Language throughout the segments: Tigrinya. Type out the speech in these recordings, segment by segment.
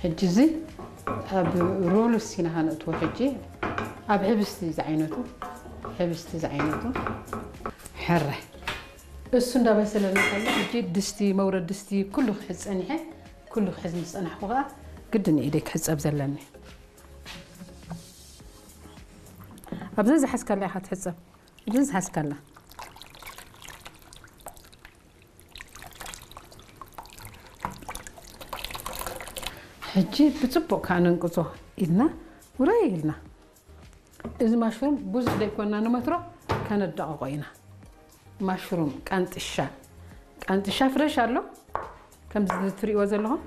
ሕጂ እዚ ኣብ ሮልስ ኢና ከነእትዎ። ሕጂ ኣብ ሕብስቲ ዝዓይነቱ፣ ሕብስቲ ዝዓይነቱ። ሕረ፣ እሱ እንዳበሰለና ከሎ፣ ሕጂ ድስቲ፣ መውረድ ድስቲ ኩሉ ክሕዝ ጸኒሐ። ኩሉ ክሕዝ ምስ ጸናሕኩ ከኣ ግድን ኢደይ ክሕጸብ ዘለኒ። ኣብዚ ዝሓዝካላ ኢኻ ትሕጸብ። ኣብዚ ዝሓዝካላ። ሕጂ ብጽቡቕ ከኣ ነንቅጾ ኢልና፣ ውረይ ኢልና። እዚ ማሽሩም ብዙሕ ደይኮንና ንመትሮ ከነዳቕቖ ኢና። ማሽሩም ቃንጥሻ፣ ቃንጥሻ ፍረሽ ኣሎ፣ ከምዚ ትርእይዎ ዘለኹም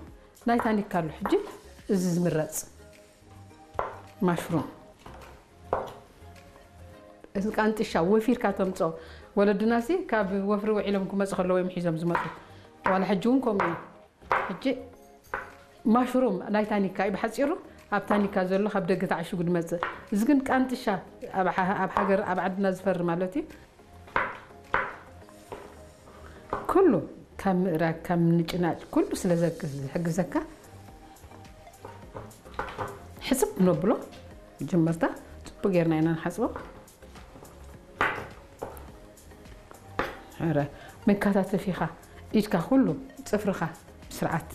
ናይ ታኒካ ኣሎ። ሕጂ እዚ ዝምረጽ ማሽሩም፣ እዚ ቃንጥሻ ወፊርካ ተምጾ። ወለድናሲ ካብ ወፍሪ ውዒሎም ክመጹ ከለዉ እዮም ሒዞም ዝመጹ። ዋላ ሕጂ እውን ከምኡ እዩ። ሕጂ ማሽሩም ናይ ታኒካ እዩ ብሓጺሩ፣ ኣብ ታኒካ ዘሎ ካብ ደገ ተዓሽጉ ዝመጽእ። እዚ ግን ቃንጥሻ ኣብ ሓ-፣ ኣብ ሃገር፣ ኣብ ዓድና ዝፈሪ ማለት እዩ። ኩሉ ካብ ምእራግ፣ ካብ ምንጭናጭ ኩሉ ስለ ዘግ-፣ ዝሕግዘካ፣ ሕጽብ ነብሎ። መጀመርታ ጽቡቅ ጌርና ኢና ንሓጽቦ። ሕረ፣ መከታተፊኻ፣ ኢድካ፣ ኩሉ ጽፍርኻ ብስርዓት